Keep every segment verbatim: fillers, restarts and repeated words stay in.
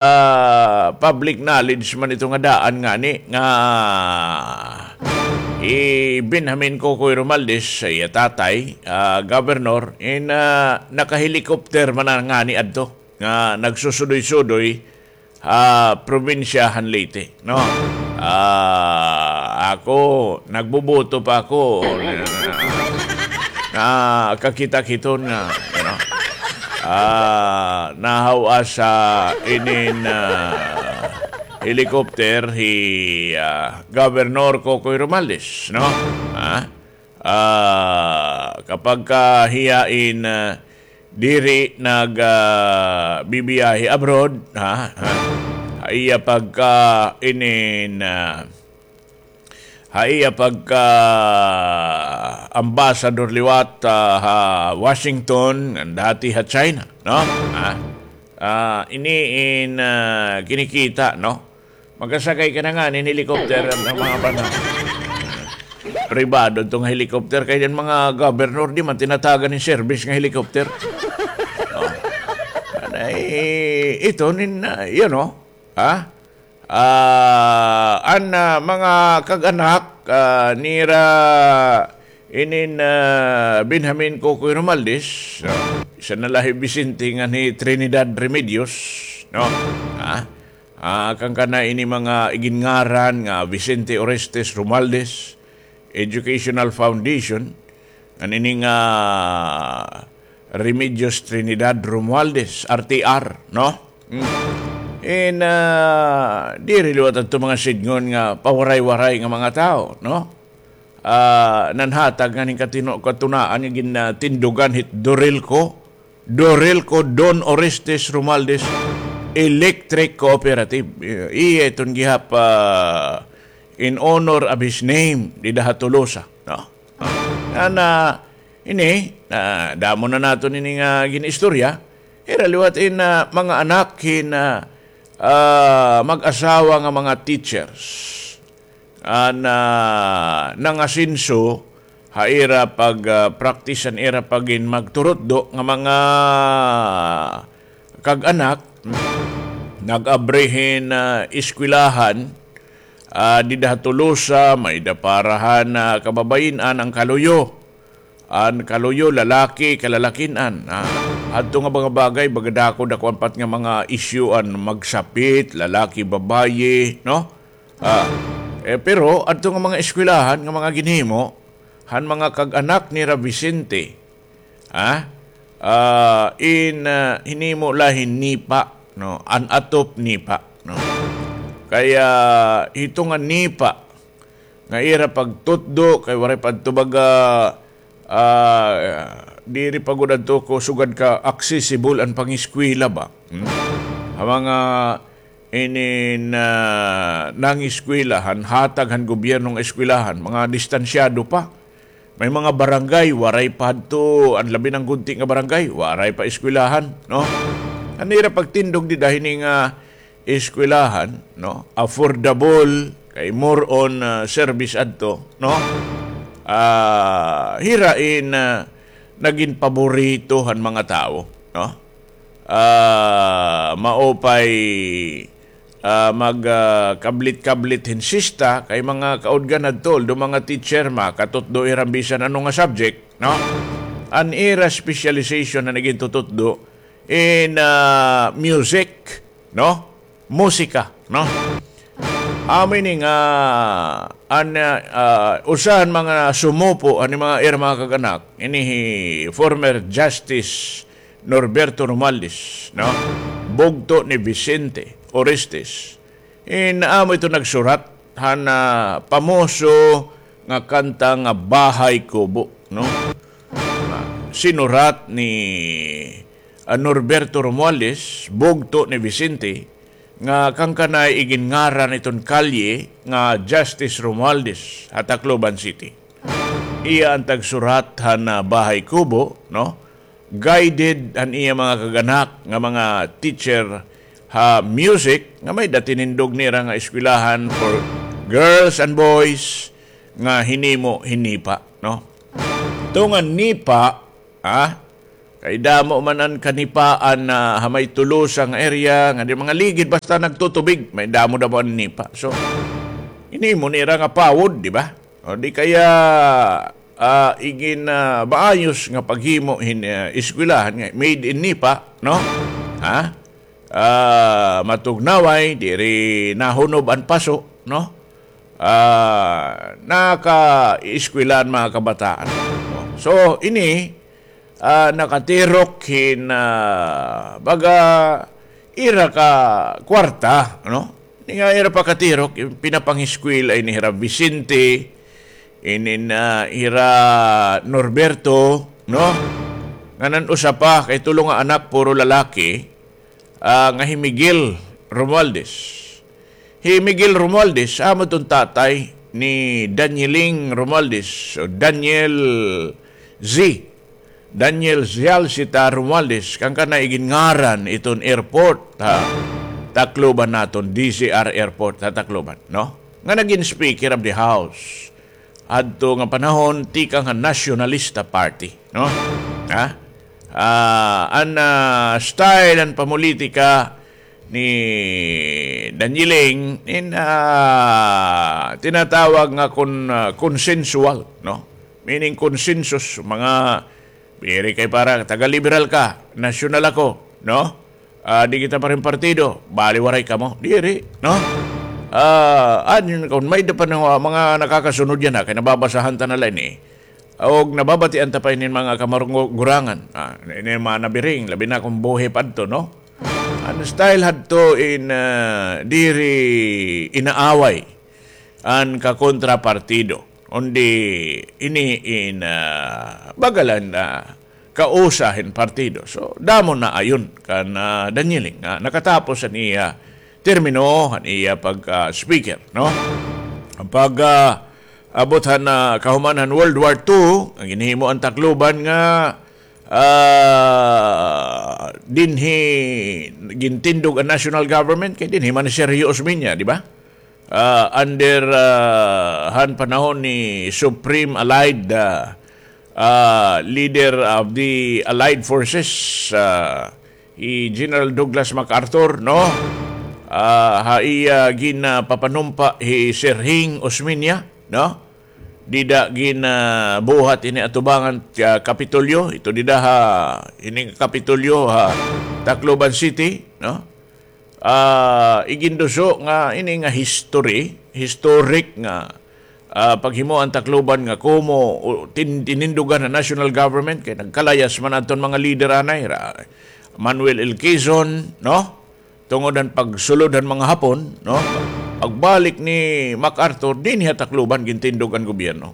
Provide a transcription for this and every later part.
ah, public knowledge man ito nga daan ngani nga hi Benjamin Kokoy Romualdez, iya tatay, ah, governor, in, ah, nakahelicopter man na ngani adto nga nagsusudoy-sudoy ha probinsya han Leyte, no? Ah, ako, nagboboto pa ako. Nakakita-kiton nga, you know, ah, nahaw-as ha inin, ah, helicopter hi, ah, Governor Kokoy Romualdez, no? Ah, ah, kapag ka hiya in, ah, diri nag, ah, bibiyahe abroad, ha? Ha? Ha iya pagka inin, ah, ha iya pagka ambassador liwat, ah, ha Washington, ngan dati ha China, no? Ha? Ah, ini in, ah, kinikita, no? Makasakay ka na ngani hin helicopter an mga panahon. Pribado adto nga helicopter, kay an mga governor di man tinatagan hin service nga helicopter. Oh. Anay, ito nin, ah, you know, ha? Ah, an, ah, mga kag-anak, ah, nira inin, ah, Benjamin Kokoy Romualdez, no? Isa na la hi Vicente ngan hi Trinidad Remedios, no? Ha? Ah, kan kana ini mga iginngaran nga Vicente Orestes Romualdez Educational Foundation, ngan ini nga Remedios Trinidad Romualdez, R T R, no? Mm. In, ah, diri liwat adto mga sidngon nga pawaray-waray nga mga tawo, no? Ah, nanhatag ngani hin katino-, katunaan nga gin-, ah, tindugan hit Dorelco, Dorelco Don Orestes Romualdez Electric Cooperative. Iya iton gihap, ah, in honor of his name, dida ha Tolosa, no? Ah, na, ini, ah, damo na naton ini nga gin-istorya. Ira liwat in, ah, mga anak hin, ah, ah, mag-asawa nga mga teachers. An, ah, nangasenso ha ira pag, ah, practice an ira pagin magturutdo nga mga kag-anak, nag-abri hin, ah, eskwelahan, ah, dida ha Tolosa, may-ada para han, ah, kababayin-an an kaluyo. An kaluyo, lalaki, kalalakin-an. Ah, adto nga mga bagay, baga dako, dako an pat nga mga isyu an magsapit, lalaki, babayi, no? Ah, eh, pero adto nga mga eskwelahan nga mga ginhimo han mga kag-anak nira Vicente, ah, ah, in, ah, hinimo la hin NEPA, no? An atop NEPA, no? Kay hito nga NEPA nga ira pagtutdo, kay waray pa adto baga, ah, diri pa gud adto ko sugad ka accessible an pangeskwela ba. Hmm? Ha mga inin, ah, nangeskwela han hatag han gobyerno nga eskwelahan, mga distansyado pa. May mga barangay, waray pa hadto, an labi na gudti nga barangay, waray pa eskwelahan, no? An ira pagtindog dida hini nga eskwelahan, no? Affordable, kay more on, ah, service adto, no? Ah, hira in, ah, nagin paborito han mga tawo, no? Ah, mao pay, ah, mag, ah, kablit-kablit hin sista, kay mga kaudgan adto, although mga teacher, makatutdo ira bisan ano nga subject, no? An ira specialization nga nagin tututdo in, ah, music, no? Musika, no? Amo ini nga an, ah, usa han mga sumupo han mga ira mga kag-anak, ini hi former Justice Norberto Romualdez, no? Bugto ni Vicente Orestes. In amo ito nagsurat han, ah, pamoso nga kanta nga Bahay Kubo, no? Ah, sinurat ni, ah, Norberto Romualdez, bugto ni Vicente, nga kan kanay iginngaran iton kalye nga Justice Romualdez ha Tacloban City. Iya an tagsurat han, ah, Bahay Kubo, no? Guided an iya mga kag-anak nga mga teacher ha music nga may-ada tinindog nira nga eskwelahan for girls and boys nga hinimo hin NEPA, no? Ito nga NEPA, ah, Kay damo man an kanipaan na ha may Tolosa nga area, nga di mga ligid basta nagtutubig, may damo-damo an nipa. So, ini mo nira nga pawod, di ba? O di kaya, ah, igin, ah, maayos nga paghimo hin, ah, eskwelahan nga made in nipa, no? Ha? Ah, matugnaway, diri nahunob an paso, no? Ah, naka-eskwela an mga kabataan. So, ini, ah, nakatirok hin, ah, baga, ira ka kwarta, no? Ini nga ira pakatirok, pinapangiskwela ini hira Vicente, ini na hira Norberto, no? Ngan an usa pa, kay tulo nga anak, puro lalaki, ah, nga hi Miguel Romualdez. Hi Miguel Romualdez, amo iton tatay ni Danieling Romualdez, o Daniel Z. Daniel Zialcita Romualdez, kan kana igin ngaran iton airport, ha Tacloban naton, D Z R Airport, ha Tacloban, no? Nga nagin Speaker of the House hadto nga panahon tikang ha Nationalista Party, no? Ha? Ah, an, ah, style, an pamolitika ni Danieling in, ah, tinatawag nga kon-, ah, consensual, no? Meaning consensus, mga, diri kay para taga-liberal ka, nasyonal ako, no? Ah, di kita parehong partido, bali waray kamo. Diri, no? Ah, an, kon may-ada pa nga mga nakakasunod yana, kay nababasahan ta na la ini. Og nababatian ta pa inin mga kamarunggurangan. Ah, inin mga nabiring, labi na kon buhi pa adto, no? An style hadto in, ah, diri inaaway an kakontrapartido. Kundi ini in, ah, baga la, ah, kausa hin partido. So, damo na ayon kan, ah, Danieling nga nakatapos an iya termino, an iya pag, ah, speaker, no? Pag, ah, abot han, ah, kahuman han World War Two, an ginhimo an Tacloban nga, ah, dinhi gintindog an national government, kay dinhi man hi Sergio Osmeña, di ba? Ah, under, ah, han panahon ni Supreme Allied, ah, ah, leader of the Allied Forces, ah, hi General Douglas MacArthur, no? Ah, ha iya gin, ah, papanumpa hi Sergio Osmeña, no? Dida gin, ah, buhat ini atubangan, ah, Kapitolyo, ito dida ha, ini Kapitolyo ha Tacloban City, no? Ah, iginduso nga ini nga history, historic nga, ah, paghimo an Tacloban nga komo, o, tin-, tinindugan han national government, kay nagkalayas man adton mga lider anay, ra-, Manuel L. Quezon, no? Tungod han pagsulod han mga Hapon, no? Pagbalik ni MacArthur, dinhi ha Tacloban gintindog an gobyerno.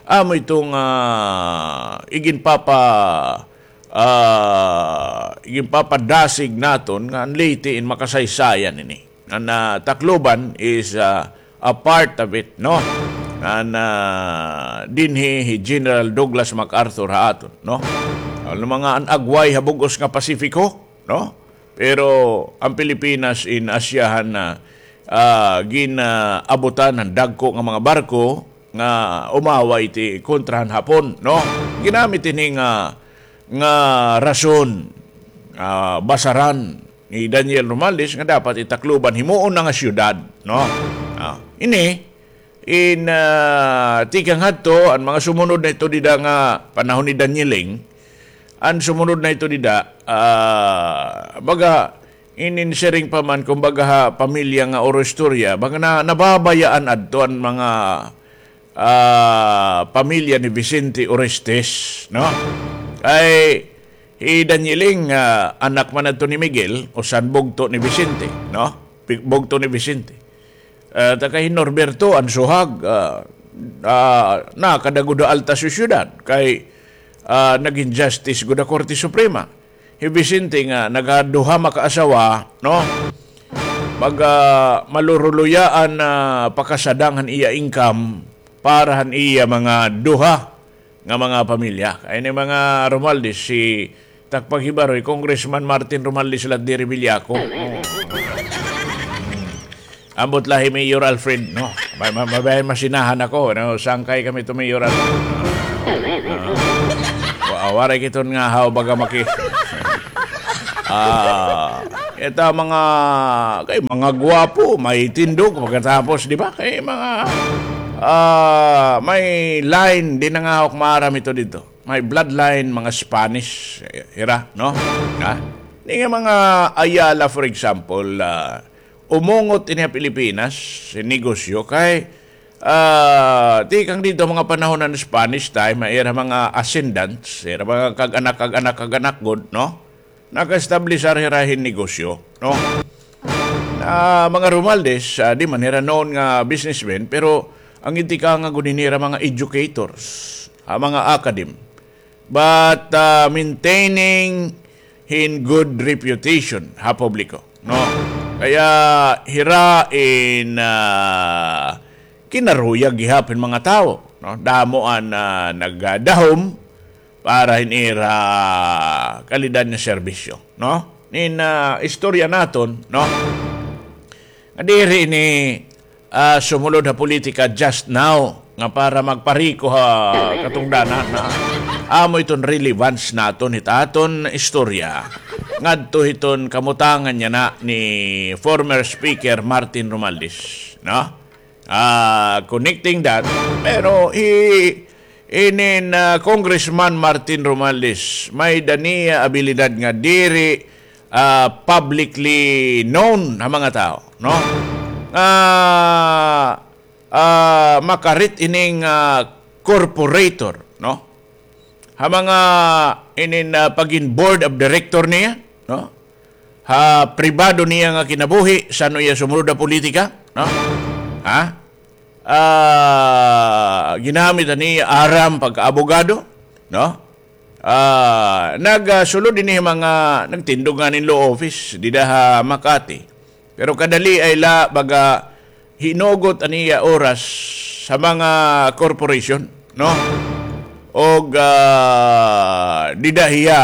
Amo ito nga, ah, iginpapa-, ah, iginpapadasig naton nga an Leyte in makasaysayan ini. An, ah, Tacloban is, ah, a part of it, no? An, ah, dinhi hi General Douglas MacArthur ha aton, no? An mga an agway ha bug-os nga Pasifiko, no? Pero an Pilipinas in asyahan na, ah, gin-, ah, abutan han dagko nga mga barko nga umaway ti kontra han Hapon, no? Ginamit ini nga, nga rason, ah, basaran ni Daniel Romualdez nga dapat i Tacloban himuon na nga syudad, no? Ah, ini, In, ah, tikang hadto, an mga sumunod na ito dida nga panahon ni Danieling, an sumunod na ito dida, ah, baga, inin siring pa man, kumbaga, ha pamilya nga oro istorya, baga na, nababayaan adto an mga, ah, pamilya ni Vicente Orestes, no? Kay, hi Danieling, ah, anak man adto ni Miguel, usan bugto ni Vicente, no? Pi-, bugto ni Vicente. Ah, ta kay Norberto, an suhag, ah, ah, nakada gud ha alta sosyedad kay, ah, nagin justice gud ha Korte Suprema. Hi Vicente nga nagaduha makaasawa, no? Mag, ah, maluruluyaan na pakasadang han iya income para han iya mga duha nga mga pamilya. Kay ni mga Romualdez, si Takpaghibaroy, Congressman Martin Romualdez la diri Villaco. Oo. Ambot la hi Mayor Alfred, no? Ma-, ma-, mabay masinahan ako, no? Sangkay kami to Mayor Alfred. Ah. Wa-, Waray kiton nga haw baga maki-, ah, ita mga, kay mga gwapo, may tindog pagkatapos, di ba? Kay mga, ah, may line, di na nga hawak maaram ito dito. May bloodline, mga Spanish, eh, hira, no? Ha? Ini nga mga Ayala, for example, ah, umungot ini ha Pilipinas, sin negosyo, kay, ah, tikang didto mga panahon han Spanish time, ira mga ascendants, ira mga kag-anak, kag-anak, kag-anak gud, no? Naka-establishar hira hin negosyo, no? Na mga Romualdez, ah, di man hira known nga businessman, pero ang intikanga gud hira mga educators, ah, mga academ. But, ah, maintaining hin good reputation ha publiko, no? Kaya hira in, ah, kinaruyag gihap hin mga tawo, no? Damo an, ah, nagdahom para hin ira kalidad nga serbisyo, no? Nin, ah, istorya naton, no? Nga diri ini, ah, sumulod ha politika just now nga para magpariko ha katungdanan na amo iton relevance naton hit aton istorya ngadto hiton kamutangan yana ni former Speaker Martin Romualdez, no? Ah, connecting that, pero hi-, inin, ah, Congressman Martin Romualdez, may-ada niya abilidad nga diri, ah, publicly known ha mga tawo, no? Nga, ah, makarit ining, ah, corporator, no? Ha mga inin, ah, pagin board of director niya, no? Ha pribado niya nga kinabuhi, san-o iya sumulod ha politika, no? Ha? Ah, ginamit an iya aram pagka-abogado, no? Ah, nagsulod ini mga nagtindog ngani hin law office dida ha Makati. Pero kadaliay la baga hinugot an iya oras sa mga corporation, no? Og, ah, dida hiya,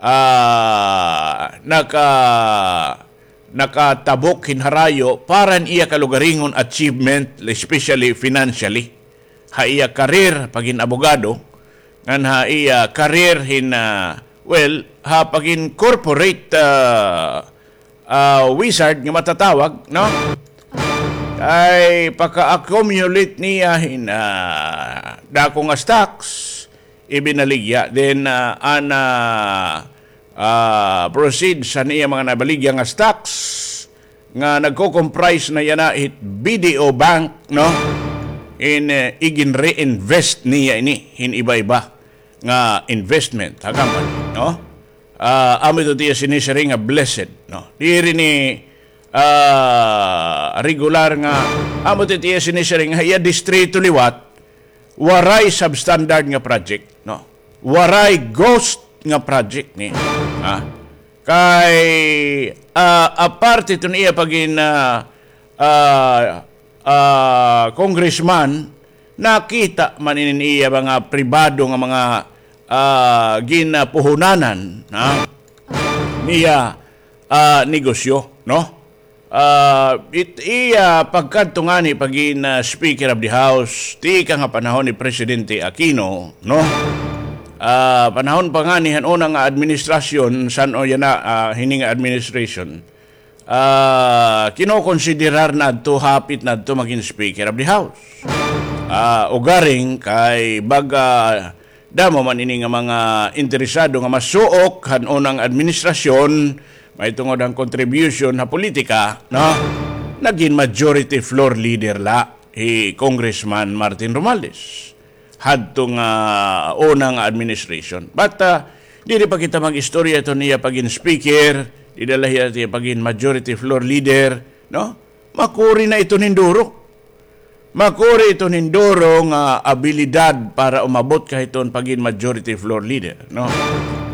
ah, naka-, nakatabok hin harayo para han iya kalugaringon achievement, especially financially. Ha iya career pagin abogado, ngan ha iya career hin, ah, well, ha pagin corporate, ah, ah, wizard nga matatawag, no? Kay paka-accumulate niya hin, ah, dako nga stocks, ibinaligya. Then, ah, an, ah, ah, proceeds han iya mga nabaligya nga stocks nga nagko-comprise na yana hit B D O Bank, no? In, eh, igin-reinvest niya ini hin iba-iba nga investment ha company, no? Ah, amo ito tiya sinisiring nga blessed, no? Diri ini, ah, regular nga, amo ito tiya sinisiring ha iya distrito liwat, waray substandard nga project, no? Waray ghost nga project ni, ha? Kay, ah, aparte iton iya pagin, ah, ah, ah, congressman, nakita man ini niya mga pribado nga mga, ah, ginapuhunanan, ha? Niya, ah, negosyo, no? Ah, it-, iya pagkadto ngani pagin, ah, Speaker of the House, tikang ha panahon ni Presidente Aquino, no? Ah, panahon pa ngani han una nga administrasyon, san-o yana, ah, hini nga administration, ah, kinokonsiderar na adto, hapit na adto magin Speaker of the House. Ah, ugaring kay baga damo man ini nga mga interesado nga masuok han unang administrasyon, mahitungod han contribution ha politika, no? Nagin majority floor leader la hi Congressman Martin Romualdez hadto nga una nga administration. But, ah, diri pa kita mag-istorya iton iya pagin speaker, dida la hiya tiya pagin majority floor leader, no? Makuri na iton hin duro. Makuri iton hin duro nga abilidad para umabot ka hiton pagin majority floor leader, no?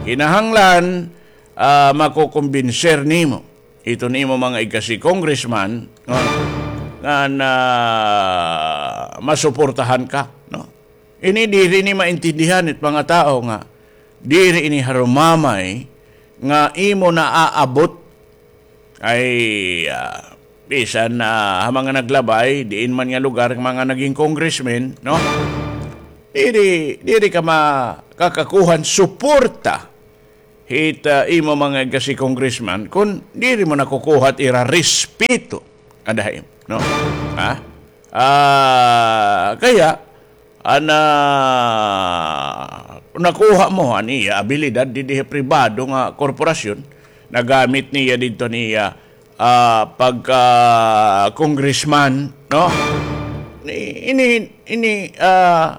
Kinahanglan, ah, makokombinser nimo iton imo mga igkasi congressman, no? Nga na masuportahan ka, no? Ini diri ni maintindihan it mga tawo nga diri ini harumamay nga imo naaabot. Ay, ah, bisan, ah, ha mga naglabay, diin man nga lugar, mga naging congressman, no? Diri, diri ka makakakuha hin suporta hit, ah, imo mga igkasi congressman kon diri mo nakukuha it ira respeto. Adahay, no? Ha? Ah, kaya, ana, nakuha mo an iya abilidad didi ha pribado nga korporasyon, nagamit niya didto niya, ah, pagka congressman, no? Ini, ini, ah,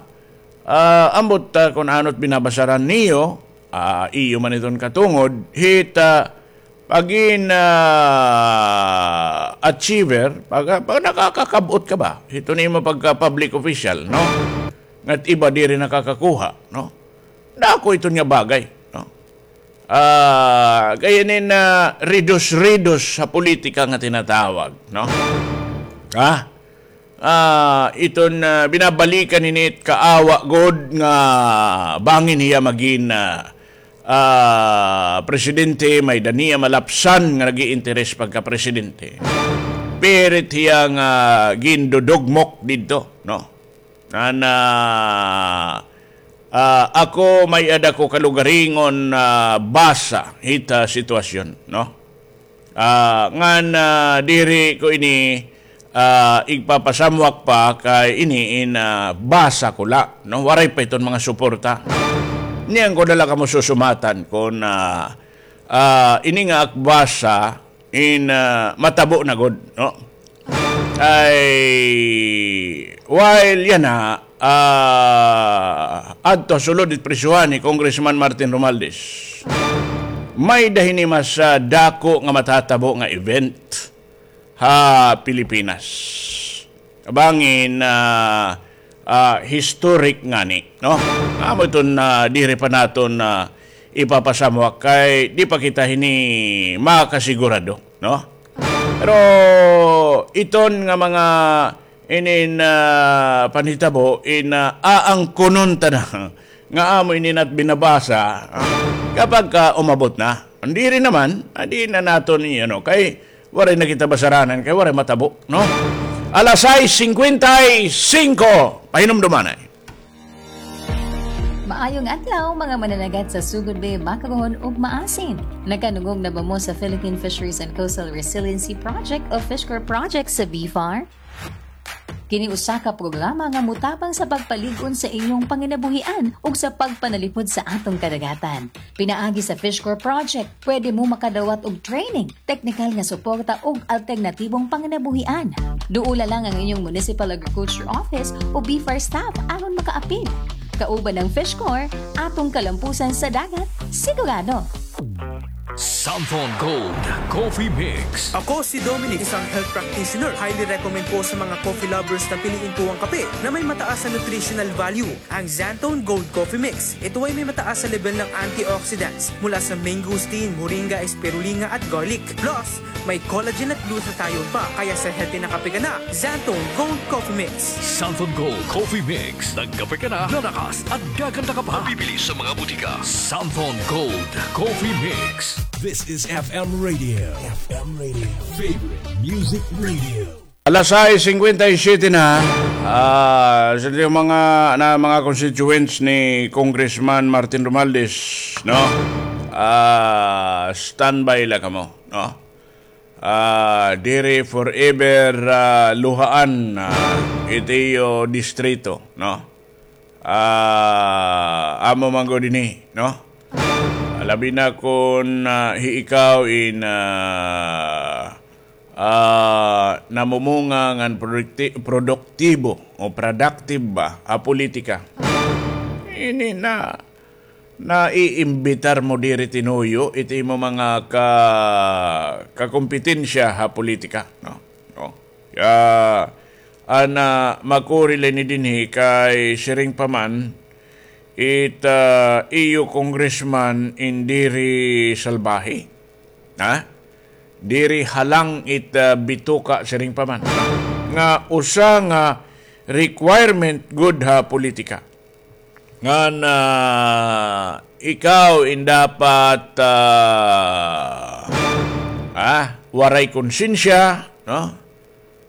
ah, ambot, ah, kon ano it binabasaran niyo, ah, iyo man iton katungod, hit, ah, pagin, ah, achiever, pag, pag nakakakab-ot ka ba? Hito nimo pagka public official, no? Ngat iba diri nakakakuha, no? Dako iton nga bagay, no? Ah, kay ini na ridus-ridus ha politika nga tinatawag, no? Ha? Ah, iton, ah, binabalikan ini it kaawa gud nga bangin hiya magin, ah, ah, presidente, may-ada niya malapsan nga nag-iinteres pagka-presidente. Pirit hiya nga gindudugmok didto, no? Ana, ah, ako may-ada ko kalugaringon, ah, basa hit, ah, sitwasyon, no? Ah, ngan, ah, diri ko ini, ah, igpapasamwak pa kay ini in, ah, basa ko la, no? Waray pa iton mga suporta. Niyan ko na la kamo susumatan kon, ah, ah, ini nga ak basa in, ah, matabo na gud, no? Ay, while yana, ah, adto sulod it prisohan ni Congressman Martin Romualdez, may-ada hini mas, ah, dako nga matatabo nga event ha Pilipinas. Bangin, ah, ah, historic ngani, no? Amo iton, ah, diri pa naton, ah, ipapasamwak kay di pa kita hini makasigurado, no? Pero iton nga mga inin, ah, panhitabo in, ah, aangkunon ta na nga amo ini nat binabasa, ah, kapag ka umabot na. Diri naman, ah, di na naton i-ano, kay waray na kita basaranan, kay waray matabo, no? Alas sais singkwenta y singko, pahinumdumanay. Maayong adlaw, mga mananagat sa Sugod Bay, Bacagon, ug Maasin. Nakadungog na ba mo sa Philippine Fisheries and Coastal Resiliency Project o FishCorP project sa BFAR? Kini usa ka programa nga motabang sa pagpalig-on sa inyong panginabuhian ug sa pagpanalipod sa atong kadagatan. Pinaagi sa FishCorP project, pwede mo makadawat og training, teknikal nga suporta ug alternatibong panginabuhian. Duola lang ang inyong Municipal Agriculture Office o BFAR staff aron makaapil. Kauban ang FishCorP, atong kalampusan sa dagat, sigurado. Santhon Gold Coffee Mix. Ako si Dominic, isang health practitioner. Highly recommend ko sa mga coffee lovers na piliin ko ang kape na may mataas na nutritional value, ang Xanthone Gold Coffee Mix. Ito ay may mataas na level ng antioxidants mula sa mangosteen, moringa, spirulina at garlic. Plus, may collagen at glutathione pa, kaya sa healthy na kape ka na, Xanthone Gold Coffee Mix. Santhon Gold Coffee Mix. Nagkape ka na, lalakas at gaganda ka pa. Mabibili sa mga butika. Santhon Gold Coffee Mix. This is F M Radio. F M Radio. Favorite Music Radio. Alas sais singkwenta y siyete na, ah, sa mga, na mga constituents ni Congressman Martin Romualdez, no? Ah, standby la kamo, no? Ah, diri forever, ah, luhaan, ah, it iyo distrito, no? Ah, amo man gud ini, no? Labi na kon, ah, hi ikaw in, ah, ah, namumunga ngan produkti-, produktibo o productive ba ha politika. Ini na, naiimbitar mo diri tinuyo it imo mga ka-, kakompetensya ha politika, no? No? Kaya, ana, makuri la ini dinhi kay siring pa man, it, ah, iyo congressman in diri salbahe. Ha? Diri halang it, ah, bituka siring pa man. Nga usa nga requirement gud ha politika. Ngan, ah, ikaw in dapat, ah, ah, waray konsensya, no?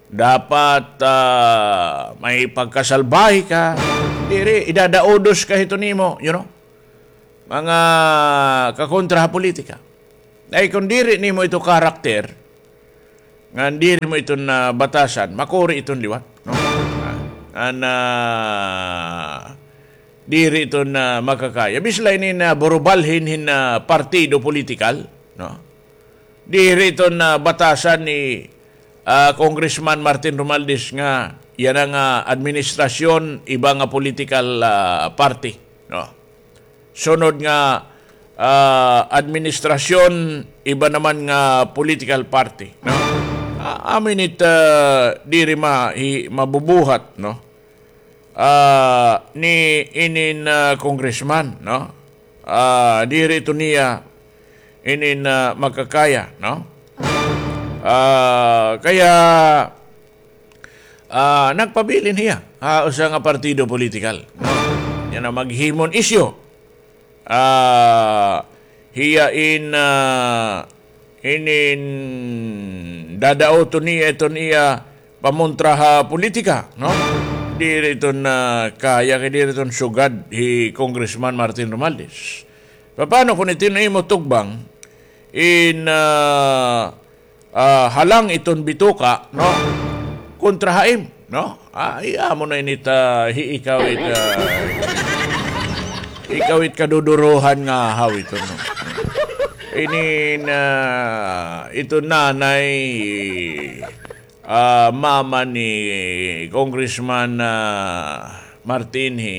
Dapat, ah, may pagkasalbahe ka. Diri, idadaudos ka hito nimo, you know? Mga kakontra ha politika. Ay, kung diri nimo ito karakter, ngan diri mo iton, ah, batasan, makuri iton liwat, no? Ah, an, ah, diri iton, ah, makakaya. Bisan la ini nga burubalhin hin, ah, partido politikal, no? Diri iton, ah, batasan ni, ah, Congressman Martin Romualdez nga yana nga administrasyon, iba nga political, ah, party, no? Sunod nga, ah, administrasyon, iba naman nga political party, no? Ah, amo ini it, ah, diri ma-, hi-, mabubuhat, no? Ah, ni inin, ah, congressman, no? Ah, diri ito niya inin, ah, makakaya, no? Ah, kaya, ah, nagpabilin hiya ha usa nga partido politikal, no? Yana maghimo hin isyu. Ah, hiya in, ah, inin dadauton niya iton iya pamontra ha politika, no? Diri iton, ah, kaya kay diri iton sugad hi Congressman Martin Romualdez. Paano kon iton imo tugbang in, ah, ah, halang iton bituka, no? Kontra ha im, no? Ah, iya mo na ini ta, hi-, ikaw it, ah, ikaw it kaduduruhan nga haw ito, no? Ini na, ito nanay, ah, mama ni Congressman, ah, Martin, hi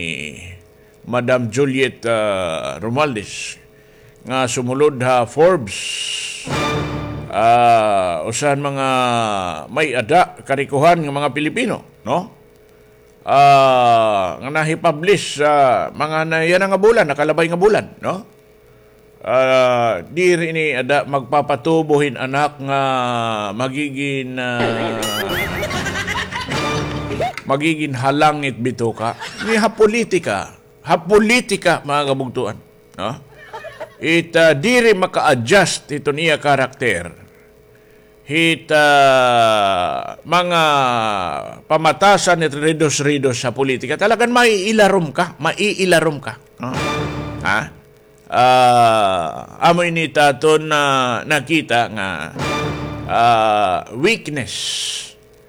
Madam Juliet, ah, Romualdez, nga sumulod ha Forbes, ah, usa han mga may-ada, karikohan nga mga Pilipino, no? Ah, nga nahi-publish sa mga na, yana nga bulan, nakalabay nga bulan, no? Ah, diri ini ada magpapatubo hin anak nga magigin, ah, magigin halang it bituka. Ini ha politika. Ha politika, mga kabugtuan, no? It, ah, diri maka-adjust iton iya karakter hit, ah, mga pamatasan hit ridos-ridos ha politika. Talagan maiilarom ka, maiilarom ka, no? Ha? Ah, amo ini it aton, ah, nakita nga, ah, weakness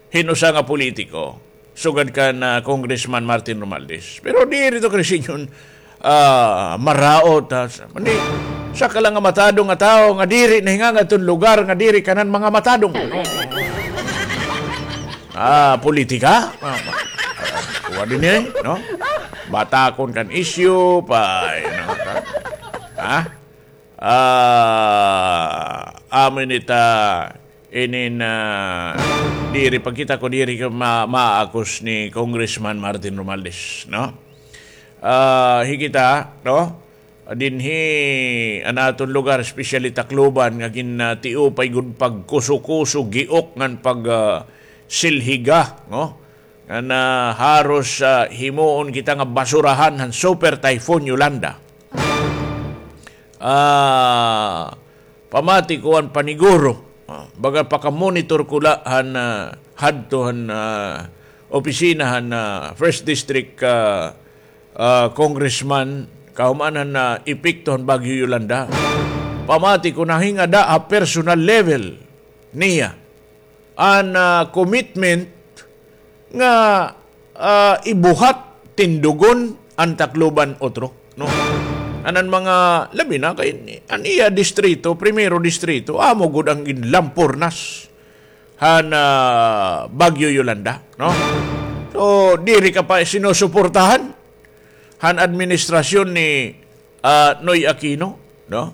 hin usa nga politiko, sugad kan, ah, Congressman Martin Romualdez. Pero diri ito, Chris, inyon, ah, maraot, ha. Sa, mani, usa ka la nga matadong nga tawo nga diri nahinga ngadton lugar nga diri kanan mga matadong. Ah, politika? Ah, ma-, ah, kuha din eh, no? Batakon kan isyu, pa, you know, ha? Ha? Ah, amo ini ta, inin, ah, diri, pagkita ko diri ko ma-, maakus ni Congressman Martin Romualdez, no? Ah, hi kita, no? Dinhi, an aton lugar, especially Tacloban, nga gin, ah, tiupay gud pagkuso-kuso, giok ngan pag, ah, silhiga, no? Nga na haros, ah, himuon kita nga basurahan han Super Typhoon Yolanda. Ah, pamati ko an paniguro. Ah, baga paka-monitor ko la han, ah, hadto han, ah, opisina han, ah, First District, ah, ah, Congressman, kahuman han, ah, epekto han Bagyo Yolanda. Pamati ko nahinga da ha personal level niya an, ah, commitment nga, ah, ibuhat, tindugon an Tacloban utro, no? An, an mga, labi na kay an iya distrito, primero distrito, amo gud an ginlampurnas han, ah, Bagyo Yolanda, no? So, diri ka pa sinusuportahan han administrasyon ni, ah, Noy Aquino, no?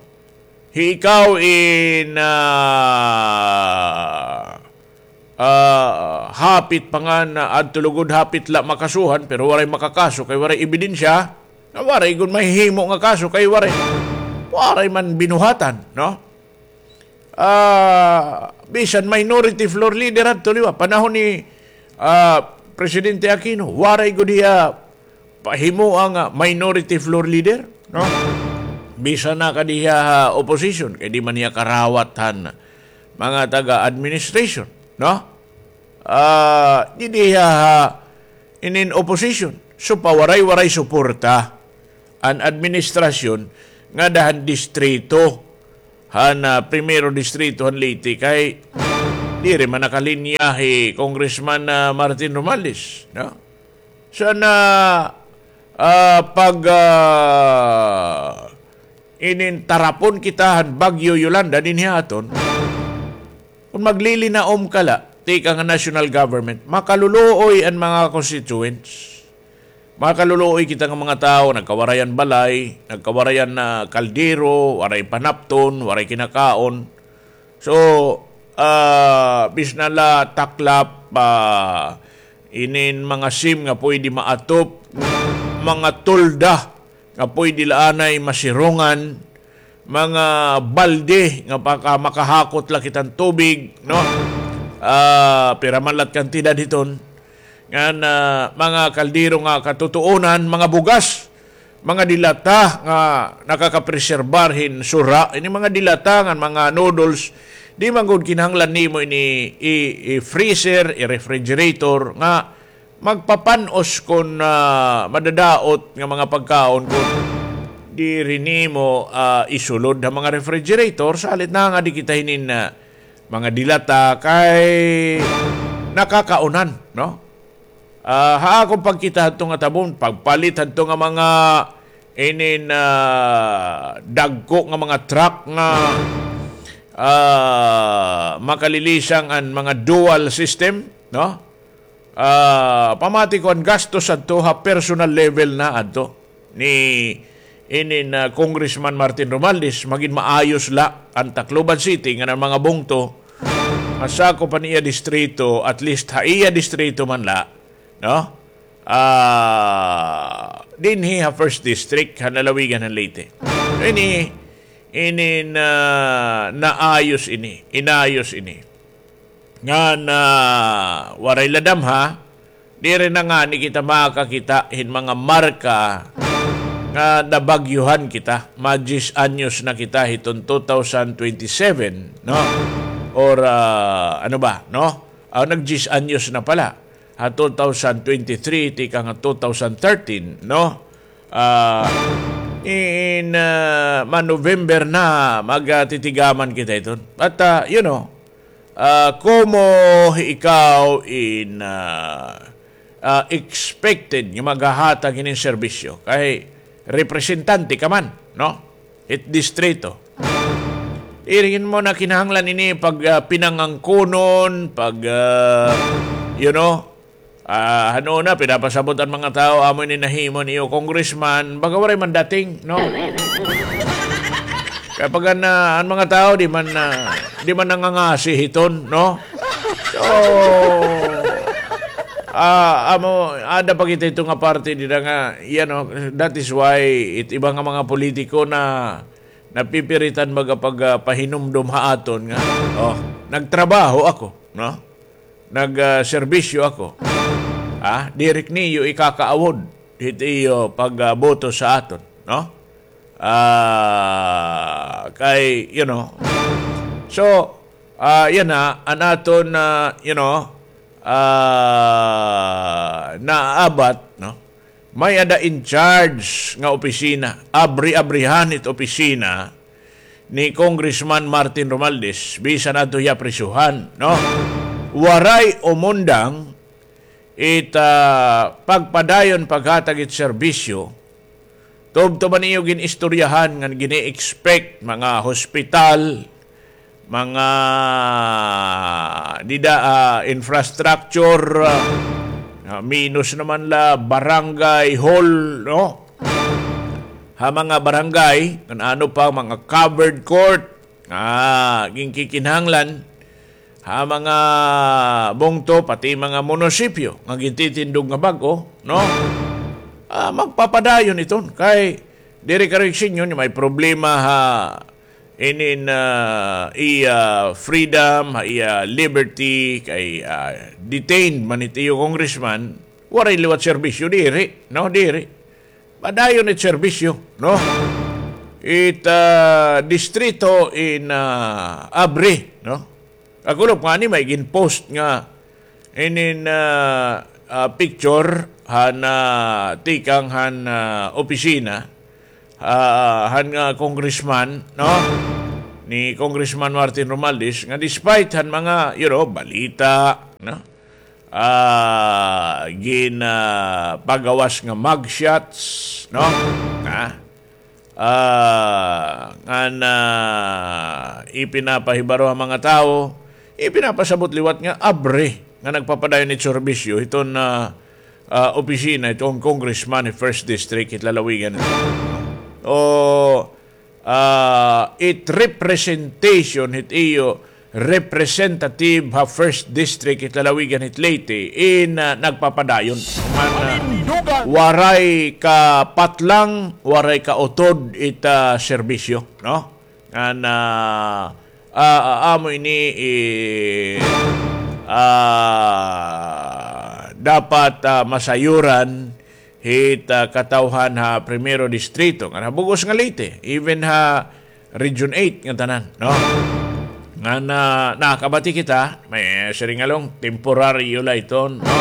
Hi ikaw in, ah, ah, hapit pa nga na adto lugod, hapit la makasuhan, pero waray makakaso kay waray ebidensya, nga waray gud mahihimo nga kaso kay waray, waray man binuhatan, no? Ah, bisan minority floor leader adto liwat, panahon ni, ah, Presidente Aquino, waray gud hiya pahimoa nga minority floor leader, no? Bisan na kadi hiya ha opposition, kay di man hiya karawat han mga taga-administration, no? ah, didi ha, ha inin opposition. So, pawaray-waray suporta an administrasyon ngada han distrito han, ah, Primero Distrito han Leyte kay diri man nakalinya hi Congressman, ah, Martin Romualdez, no? So, na, ah, pag, ah, inin tarapon kita han Bagyo Yolanda dinhi ha aton, kon maglilinaom ka la, tikang han national government, makaluluoy an mga constituents. Makaluluoy kita nga mga tawo, nagkawaray an balay, nagkawaray an, ah, kaldero, waray panapton, waray kinakaon. So, ah, bisan la taklap, ah, inin mga sim nga pwede maatop, mga tolda nga pwede la anay masirungan, mga balde nga paka-, makahakot la kita hin tubig, no? Ah, pira man la it kantidad hiton. Ngan, ah, mga kaldero nga katutuonan, mga bugas, mga dilata nga nakakapreserbar hin sura, ini mga dilata ngan mga noodles, di man gud kinahanglan nimo ini i-, i-freezer, i-refrigerator, nga magpapan-os kon, ah, madadaot nga mga pagkaon kon diri nimo, ah, isulod ha mga refrigerator, salit na nga di kita hinin, ah, mga dilata kay nakakaunan, no? Ah, ha akon pagkita hadto nga tabon, pagpalit hadto nga mga inin, ah, dagko nga mga truck nga, ah, makalilisang an mga dual system, no? Ah, pamati ko an gastos adto ha personal level na adto ni inin, ah, Congressman Martin Romualdez, magin maayos la an Tacloban City ngan an mga bungto nga sakop han iya distrito, at least ha iya distrito man la, no? Ah, dinhi ha first district, ha lalawigan han Leyte. Ini, ini na, naayos ini, inayos ini. Ngan, ah, waray la damha, diri na ngani kita makakita hin mga marka nga nabagyuhan kita. Ma-diyes anyos na kita hiton two thousand twenty-seven, no? Or, ah, ano ba, no? Ah, nag-diyes anyos na pala. Ha two thousand twenty-three, tikang ha two thousand thirteen, no? Ah, in, ah, ma-November na, magtitigaman kita iton. But, ah, you know, ah, komo ikaw in, ah, ah, expected nga maghahatag hinin serbisyo kay representante ka man, no? Hit distrito. Diri mo na kinahanglan ini pag, ah, pinangangkonon, pag, ah, you know, ah, ano na, pinapasabot an mga tawo, amo ini nahimo niyo, congressman, baga waray man dating, no? Kay pag an, ah, an mga tawo, di man, ah, di man nangangasi hiton, no? So, ah, amo, ada pa kita ito nga parte dida nga, you know, that is why it, iba nga mga politiko na napipiritan baga pag, ah, pahinumdom ha aton nga, oh, nagtrabaho ako, no? Nag, ah, serbisyo ako. Ah, diri niyo ikakaawod hit iyo pag, ah, boto sa aton, no? Ah, kay, you know, so, ah, yana, an aton, ah, you know, ah, naabat, no? May-ada in charge nga opisina, abri-abrihan it opisina ni Congressman Martin Romualdez, bisan adto hiya prisohan, no? Waray umundang it, ah, pagpadayon paghatag it serbisyo, tubtob an iyo gin-istoryahan nga gini-expect mga hospital, mga dida, ah, infrastructure, ah, ah, minus naman la barangay hall, no? Ha mga barangay, kan ano pa, mga covered court, ah, ginkikinahanglan, ha mga bungto, pati mga munisipyo nga gintitindog nga bag-o, no? Ah, magpapadayon iton. Kay diri karuyag sinyo ni may problema ha inin, ah, iya freedom, ha iya liberty, kay, ah, detained man it iyo congressman, waray liwat serbisyo, diri, no? Diri. Padayon it serbisyo, no? It, ah, distrito in, ah, abri, no? Kakulop ngani may gin-post nga inin, ah, ah, picture han, ah, tikang han, ah, opisina, ah, han, ah, congressman, no? Ni Congressman Martin Romualdez, nga despite han mga, you know, balita, no? Ah, gin, ah, pagawas nga mugshots, no? Ha? Ah, ngan, ah, ipinapahibaro ha mga tawo, ipinapasabot liwat nga abre nga nagpapadayon it serbisyo hiton, ah, ah, opisina hiton congressman hit First District hit lalawigan. O, ah, it representation hit iyo representative ha First District hit lalawigan hit Leyte in, ah, nagpapadayon. Ngan, ah, waray kapatlang, waray kautod it, ah, serbisyo, no? Ngan, ah, ah, ah, amo ini, eh, ah, dapat, ah, masayuran hit, ah, katawhan ha Primero Distrito, ngan ha bug-os nga Leyte, even ha Region eight nga tanan, no? Ngan, ah, nakabati kita, may siring along temporaryo la iton, no?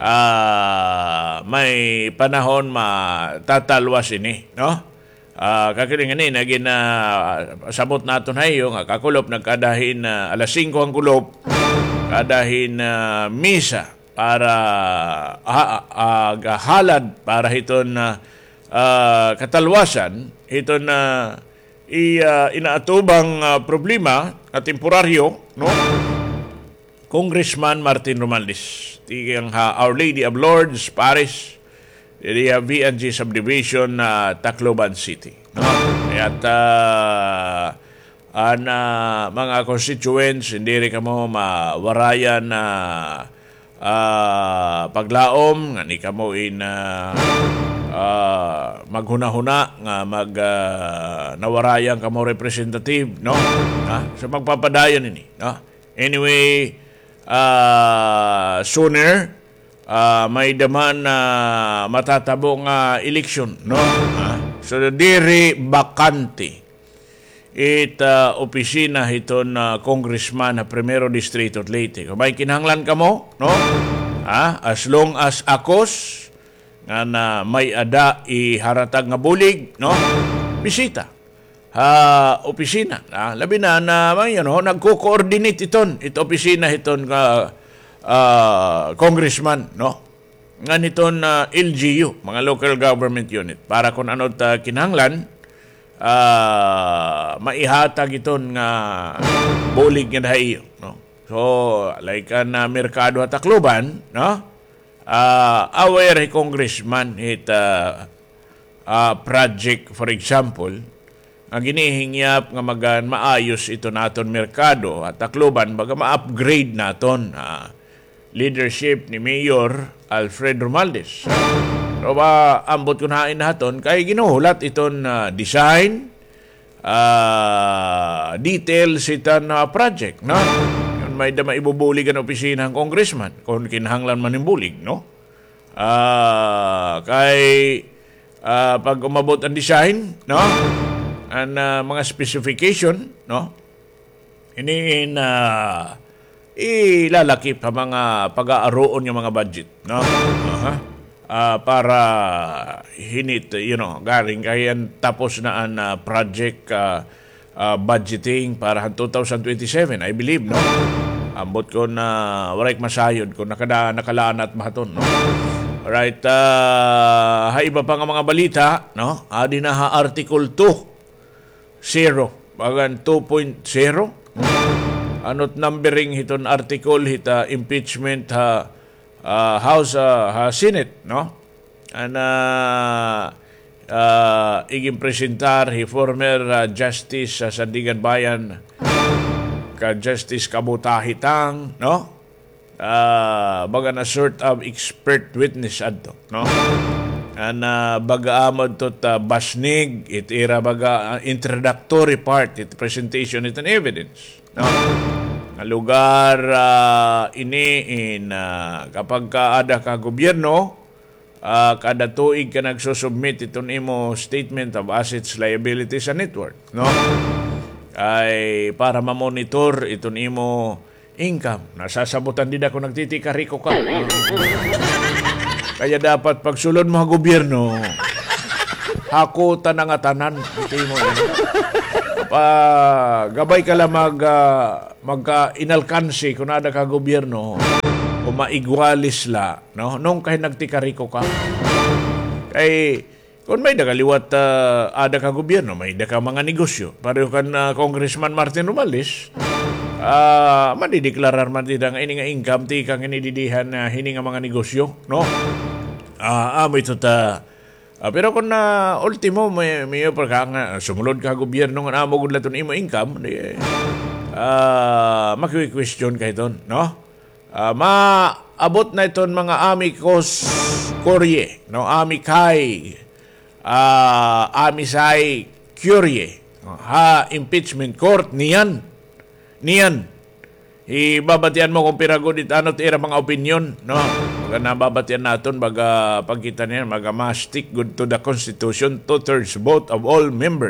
Ah, may panahon matatalwas ini, no? Ah, kakiling ini, nagin, ah, sabot naton ha iyo nga kakulop nagkada hin, ah, alas singko han kulop, kada hin, ah, misa para, ah, ah, gahalad para hiton, ah, ah, katalwasan hiton, ah, i, ah, inaatubang, ah, problema nga temporaryo, no? Congressman Martin Romualdez, tikang ha Our Lady of Lourdes Parish, diri ha V and G Subdivision, ah, Tacloban City, no? Kaya't, ah, an, ah, mga constituents, diri kamo mawarayan na, ah, paglaom, nga ni kamo in, ah, ah, maghunahuna nga mag, ah, nawarayan kamo representative, no? Ha? So, magpapadayon ini, no? Anyway, ah, sooner, ah, may-ada man, ah, matatabo nga eleksyon, no? Ah, so, diri bakante it, ah, opisina hiton, ah, congressman ha Primero Distrito hit Leyte. Kon may kinahanglan kamo, no? Ah, as long as akos, ngan may-ada iharatag nga bulig, no? Bisita ha opisina, ah, labi na, na, mga, you know, nagko-coordinate iton, it opisina hiton nga, ah, congressman, no? Ngan hiton, ah, L G U, mga local government unit, para kon ano it kinahanglan, ah, maihatag iton nga bulig ngada ha iyo, no? So, like an, ah, merkado ha Tacloban, no? Ah, aware hi Congressman hit, ah, ah, project, for example, nga ginihingyap nga magan maayos iton aton merkado ha Tacloban, baga ma-upgrade naton, ah, leadership ni Mayor Alfred Romualdez. Pero ba, ambot kon hain naton, kay ginhuhulat iton, ah, design, ah, details hiton, ah, project, no? Kon may-ada maibubulig an opisina han congressman, kon kinahanglan man hin bulig, no? Ah, kay, ah, pag umabot an design, no? An, ah, mga specification, no? Ini in, ah, ilalakip ha mga pag-aaruon nga mga budget, no? Aha. Ah, para hinit, you know, garing kay an tapos na an, ah, project, ah, ah, budgeting para han two thousand twenty-seven, I believe, no? Ambot kon waray ak masayod kon nakada-, nakalanat ba hiton, no? Right, ah, ha iba pa nga mga balita, no? Adi na ha Article two zero, bagan two point zero. Ano it numbering hiton article hit, ah, impeachment ha, ah, House, ah, ha Senate, no? An, ah, ah, iginpresentar hi former, ah, Justice ha Sandiganbayan, ka Justice Kabutahi Tang, no? Ah, baga na sort of expert witness adto, no? An, ah, baga amo adto it basnig, it ira baga, ah, introductory part, it presentation, it an evidence, no? Nga lugar, ah, ini in, ah, kapag ka ada ka gobyerno, ah, kada tuig ka nagsusubmit iton imo statement of assets, liabilities, and net worth, no? Kay para ma-monitor iton imo income. Nasasabutan dida kon nagtitikariko ka. Kaya dapat pagsulod mo ha gobyerno, hakutan na ngatanan. Iti mo, eh. Pa, gabay ka la mag, ah, magka-inalkansi kon ada ka gobyerno o maigwalis la, no? Nung kay nagtikariko ka. Kay, kon may-ada ka liwat, ah, ada ka gobyerno, may-ada ka mga negosyo. Pareho kan, ah, Congressman Martin Romualdez, ah, madideklarar man dida nga ini nga income, tikang ini didihan, ah, hini nga mga negosyo, no? Ah, amo ito ta, ah, pero kon, ah, ultimo, may, may pa ka nga sumulod ka gobyerno nga amo gud la iton imo income, di, ah, maki-question ka hiton, no? Ah, maabot na iton mga amicus curiae, no? Amicus, ah, amicus curiae, no? Ha impeachment court niyan. Niyan. Ibabatian mo kon pira gud it ano it ira mga opinyon, no? Baga nababatian naton, baga pagkita niyan, baga ma-stick gud to the Constitution, two-thirds vote of all members.